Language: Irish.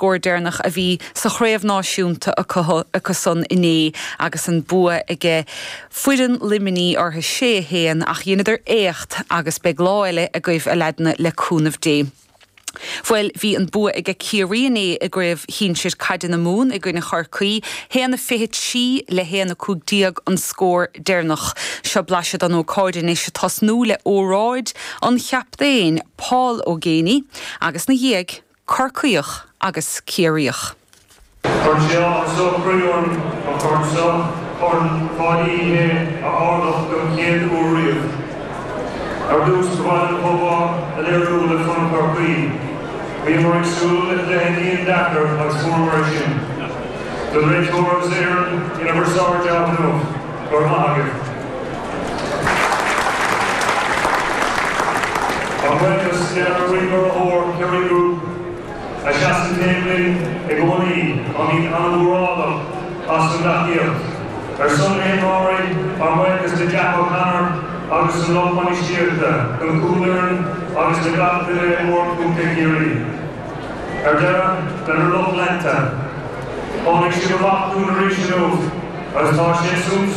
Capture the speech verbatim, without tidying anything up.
scór deireanach a bhí sa chraobh náisiúnta acusan inné agus an bua aige foireann Luimnigh orthu sé a haon ach dheineadar éacht agus beidh lá eile agaibh a leaideanna le cúnamh Dé. Bhuel bhí an bua ag Ciarraí inné i gcraobh shinsir caide na Mumhan i gcoinne Chorcaí, haon a fiche trí le haon a cúig déag an scór deireanach. Seo blaiseadh den ócáid anois ag tosnú le óráid an chaptaein Paul Ó Géibheannaigh agus ina dhiaidh Corcaíoch agus Ciarraíoch. Chuir sé áthas croí orm an corn seo Corn Pháidí Uí Shé a ardach don chéad uair riamh. Ar dtús ba mhaith liom comhbhá a léiriú le foireann Chorcaí. Bhíomar ag súil le cluiche an-deacair agus fuaireamar é sin. Don réiteoir agus fhoireann rinne sibh sár-jab inniu go raibh maith agaibh. Ár mbuíochas lenár gcroí-urraitheoir Kerry Group a sheasann taobh linn i gcónaí táimid an-mhórálach as an dtacaíocht. Ar son na himreoirí ár mbuíochas le Jack O'Connor agus an lucht bainistíochta don chúlfhoireann agus le gach duine i mBord Chontae Chiarraí. Ar deireadh lenár lucht leanta. Tháinig sibh amach dúinn arís inniu agus tá sé suntasach